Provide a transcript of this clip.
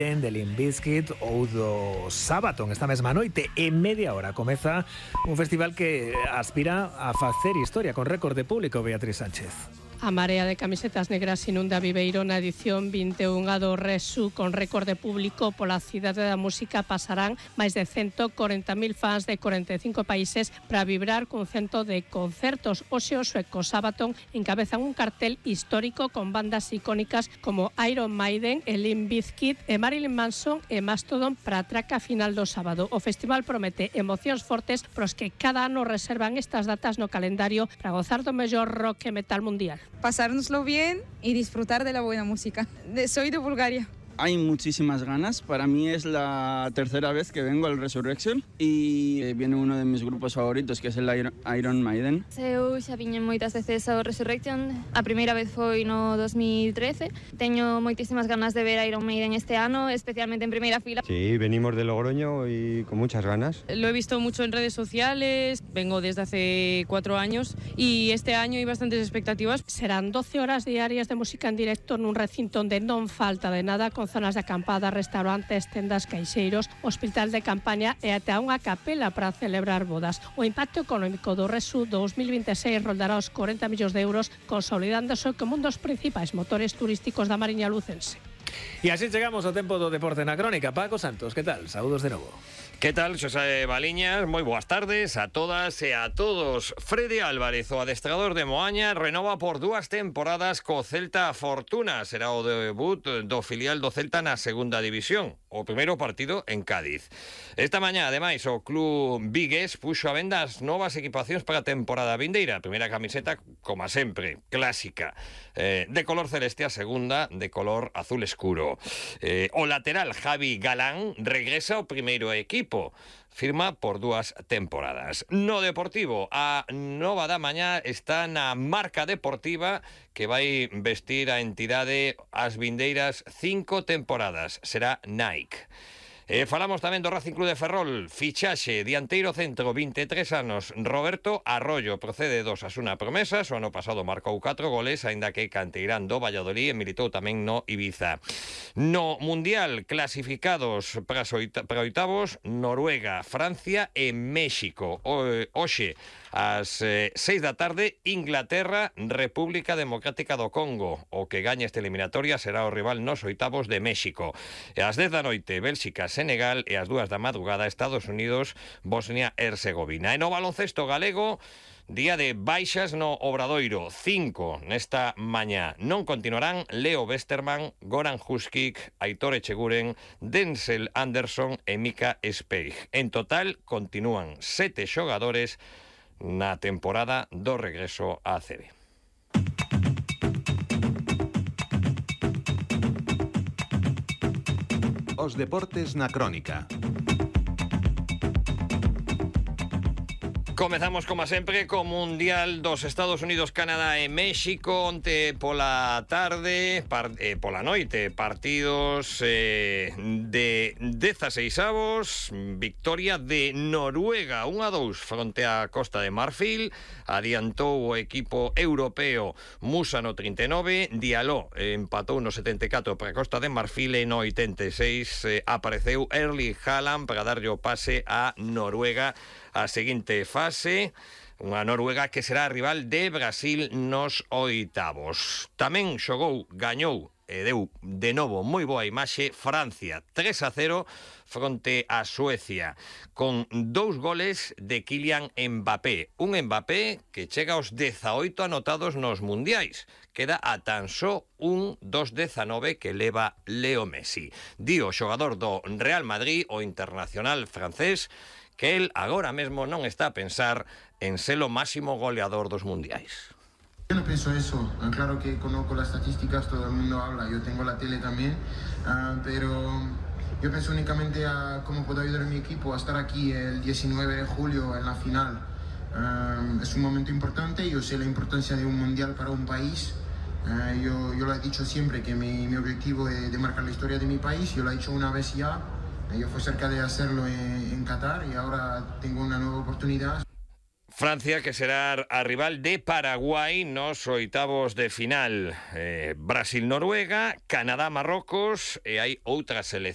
de Limp Bizkit ou do Sabaton esta mesma noite. En media hora comeza un festival que aspira a facer historia con récord de público, Beatriz Sánchez. A marea de camisetas negras inunda Viveiro na edición 21 do Resu con récord de público pola cidade da música. Pasarán máis de 140.000 fans de 45 países para vibrar cun cento de concertos. Hoxe o sueco Sabaton encabezan un cartel histórico con bandas icónicas como Iron Maiden, Limp Bizkit e Marilyn Manson e Mastodon para a traca final do sábado. O festival promete emocións fortes pros que cada ano reservan estas datas no calendario para gozar do mellor rock e metal mundial. Pasárnoslo bien y disfrutar de la buena música. Soy de Bulgaria. Hay muchísimas ganas. Para mí es la tercera vez que vengo al Resurrection y viene uno de mis grupos favoritos, que es el Iron Maiden. Eu xa viñen moitas veces ao Resurrection. A primeira vez foi no 2013. Teño moitísimas ganas de ver a Iron Maiden este ano, especialmente en primeira fila. Sí, venimos de Logroño y con muchas ganas. Lo he visto mucho en redes sociales, vengo desde hace 4 años y este año hay bastantes expectativas. Serán 12 horas diarias de música en directo nun recinto onde non falta de nada, con zonas de acampada, restaurantes, tendas, caixeiros, hospital de campaña e até unha capela para celebrar bodas. O impacto económico do Resu 2026 roldará os 40 millóns de euros, consolidándose como un dos principais motores turísticos da Mariña lucense. E así chegamos ao tempo do deporte na crónica. Paco Santos, que tal? Saúdos de novo. ¿Qué tal, Xosé Baliñas? Moi boas tardes a todas e a todos. Freddy Álvarez, o adestrador de Moaña, renova por 2 temporadas co Celta Fortuna. Será o debut do filial do Celta na segunda división. O primeiro partido en Cádiz. Esta mañá, ademais, o club vigués puxo a venda as novas equipacións para a temporada vindeira. A primeira camiseta, como sempre, clásica, de color celeste, a segunda de color azul escuro. O lateral Javi Galán regresa ao primeiro equipo. Firma por 2 temporadas. No Deportivo, a nova da mañá está na marca deportiva que vai vestir a entidade as vindeiras 5 temporadas. Será Nike. Falamos tamén do Racing Club de Ferrol. Fichaxe, dianteiro centro, 23 anos, Roberto Arroyo, procede do Osasuna Promesas. O ano pasado marcou 4 goles, aínda que canteirán do Valladolid e militou tamén no Ibiza. No Mundial, clasificados para oitavos, Noruega, Francia e México. Hoxe, ás 6 da tarde, Inglaterra, República Democrática do Congo. O que gañe esta eliminatoria será o rival nos oitavos de México. E ás 10 da noite, Bélxica, Senegal, e ás 2 da madrugada, Estados Unidos, Bosnia e Herzegovina. E no baloncesto galego, día de baixas no Obradoiro, 5 nesta mañá. Non continuarán Leo Westerman, Goran Huskic, Aitor Echeguren, Denzel Anderson e Mika Speig. En total, continúan 7 xogadores na temporada do regreso á ACB. Os deportes na crónica. Comezamos, como sempre, co Mundial dos Estados Unidos, Canadá e México. Onte pola tarde, pola noite, partidos de 16avos. Victoria de Noruega 1-2 fronte á Costa de Marfil. Adiantou o equipo europeo Musa no 39. Diallo empatou no 74 para a Costa de Marfil e no 86 apareceu Erling Haaland para darlle o pase a Noruega a seguinte fase. Unha Noruega que será rival de Brasil nos oitavos. Tamén xogou, gañou e deu de novo moi boa imaxe Francia, 3-0 fronte a Suecia, con 2 goles de Kylian Mbappé. Un Mbappé que chega aos 18 anotados nos mundiais. Queda a tan só un dos 19 que leva Leo Messi. Di o xogador do Real Madrid, o internacional francés, que él agora mesmo non está a pensar en ser o máximo goleador dos mundiais. Yo no pienso eso, claro que conozco las estadísticas, todo el mundo habla, yo tengo la tele también, pero yo pienso únicamente a cómo puedo ayudar a mi equipo a estar aquí el 19 de julio en la final. Es un momento importante, yo sé la importancia de un mundial para un país. Yo lo he dicho siempre que mi objetivo es de marcar la historia de mi país, yo lo he hecho una vez ya. Yo fui cerca de hacerlo en Qatar y ahora tengo una nueva oportunidad. Francia, que será a rival de Paraguai nos oitavos de final. Brasil-Noruega, Canadá-Marrocos e hai outra selección